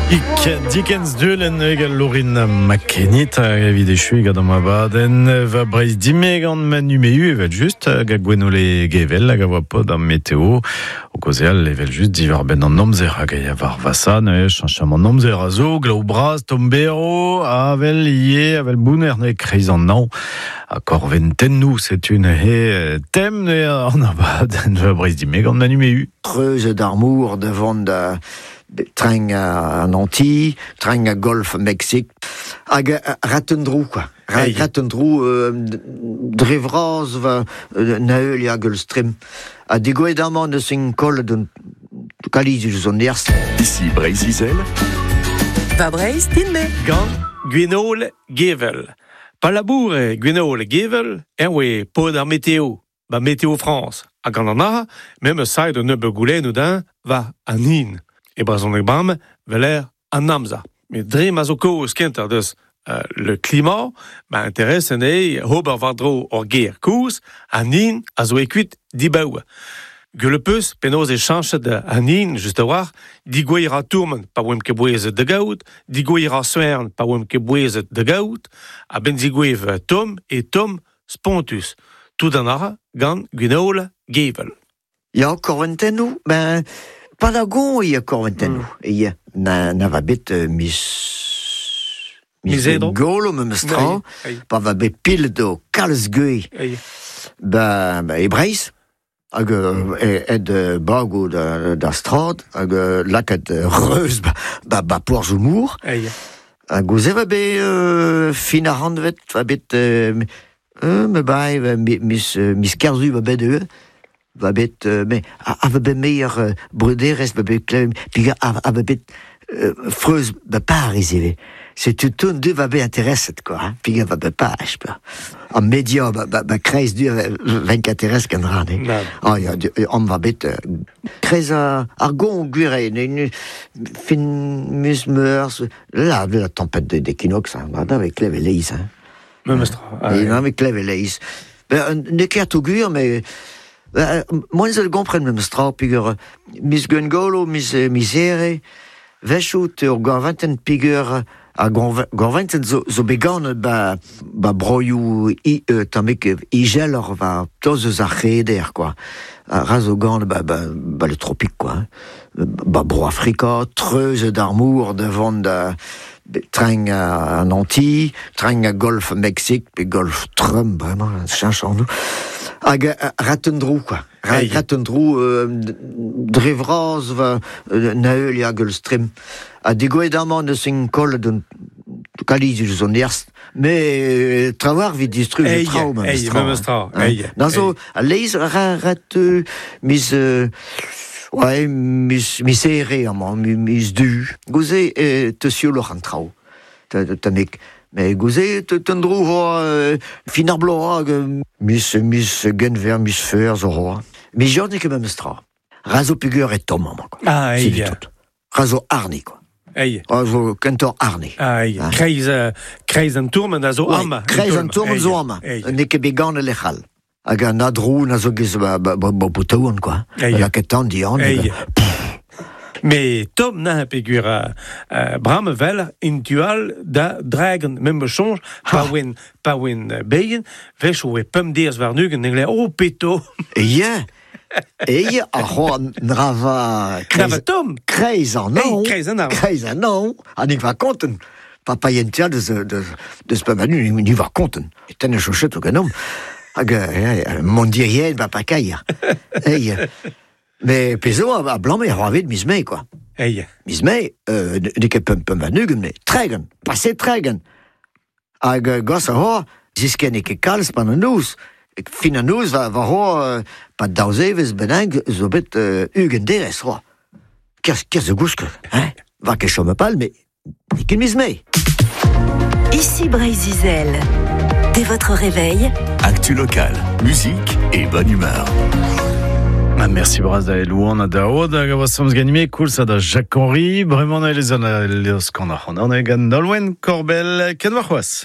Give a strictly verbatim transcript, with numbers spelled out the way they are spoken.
Ik Dickens duelen egal Lorin McKennitt evit echu gant am abadenn va Breizh dime gant Manu Mehu evel just hag Gwenole Gevel hag a voa pod am meteo o kaozeal evel just diwar benn an amzer hag a ya war vasa neuze chañchamant amzer a zo glav bras tombero avel ie avel bouner neuze kreiz an nañ a korventennoù setu neuze tem neuze an abadenn va Breizh dime gant Manu Mehu. Creuse d'armour devant da train à Nantes, train à Golfe Mexique, hag ratendrou quoi. Ratendrou euh, dre vras va na eul hag ul stream. Ha digoet amañ eus un koll d'un kaliz eus an erst. Ici Breizh-Izel. Va Breizh din-me. Gant Gwenole Gevel. Pa laboure Gwenole Gevel, eñ oe pod ar meteo, ba Météo France. Hag gant an ara, mem eus saet un nebeud goulennoù din war an hin. E brezhoneg bam, veler an amzer. Met dre ma zo kaoz kentañ deus euh, le climat, ma interesse anezhi ober war-dro ur ger koulz, an hin a zo ekuit dibaoe. Gwell peus penaos e chañchet an hin, just a-walc'h, digouezh ra tourment pa oemp ket bouezet da gaout, digouezh ra soern pa oemp ket bouezet da gaout, a ben digouezh tomm e tomm spontus. Tout an ara gant Gwenole Gevel. Ya, korventennoù, ben... Palagon ia korventennoù. Mm. Ia, na, na va bet euh, mis... Mis edro. Golo me meus tra, pa va bet pil do kalz guei. Ba, ba e Breizh, hag euh, ed bago da, da strad, hag lakaet reuz ba, ba, ba porzh mour. Hag gouze va bet euh, fin ar randvet, va bet... Euh, euh, me bai, mis, mis kerzu va bet eo. Va bet, euh, mais a, a va bet meilleur euh, bruderez, va bet klem, puis a, a va bet euh, freuz ba Paris ivez. C'est tout tout deux va bet interesset quoi, hein. Puis va bet Paris, pa. An media ba ba, ba kreiz du vingt-quatre gant ran, eh. Ah ya, an va bet euh, kreiz a, ar gon gwir ne fin mis meurs, la la tempête d'équinoxe, hein, avec klev e leiz, hein. Memes tra. Et avec klev e leiz. Ben ne ket o gwir, mais Moi, je le comprends même stra pigur mis Gwengolo, mis misere, vechout ur gorventen pigur a gorventen zo, zo began ba, ba broioù i, euh, tammik igelor va toz eus ar c'heder, quoi. Ra zo gant ba, ba, ba le tropique, quoi. Ba bro Afrika, treuz d'armour devant da train à Nantes, train à Golfe Mexique, puis Golfe Trump, vraiment, chanchons-nous. Hag ratendrou, quoi. Ratendrou, euh, dre vras va na eul hag ul stream. Ha digoet amañ eus un koll d'un kaliz eus an erst. Mais trawar vit distruj traoù memes tra. Na zo, a leiz ra rat mis... Euh, ouais, mis, mis ere amañ, mis du. Gouze euh, te sioloc'h an traoù. Tammik. Mais gouze te tendrou hoa fin ar bloaz mis mis genver mis feur zo hoa. Mis jordi ket memes tra. Razo pugur e tomm amañ, quoi. Ah, ei. Razo arni, quoi. Ei. Razo kentor arni. Ah, ei. Kreiz, kreiz an tourment a zo amañ. Kreiz an tourment zo amañ. N'eo ket bet gant lec'hal. Hag an adrou na zo gez ba, ba, ba, ba boutaouan, quoi. Lakaet an dian. Mais Tom na pegur euh, bram vel intual da dragon mem chonj pa wen pa wen beien vech oe pemp deers war nugen engle oh peto. E e a c'hoa nrava kreiz Tom kreiz an non kreiz an kreiz an non ha nik va konten papa yentia deus deus deus pa manu ni va konten ten a chochet o ganom hag mon dirien va pa kair. Ei. Mais pezo a blanc a c'hoarvet miz mae, quoi. Ei. Miz mae, euh, n'eo ket pemp pemp a-nugen, mais tregen, pase tregen. Hag gos a c'hoar, zisken eo ket kalz pan an noz. Fin an noz va, va c'hoar, euh, pa daouzevez bennak zo bet euh, ugent derez, c'hoar. Kerz, kerz zo gousk, hein? Va ket chom pal, mais n'eo ket miz mae. Ici Breizh-Izel. Dès votre réveil. Actu locale, musique et bonne humeur. Ah, merci bras da Elouan a da Od hag a oa samz ganime koulz a da Jacques-Henri, bremañ a elez an a leoz kan ar c'hant an e gant Nolwenn Korbell, ken war c'hoazh.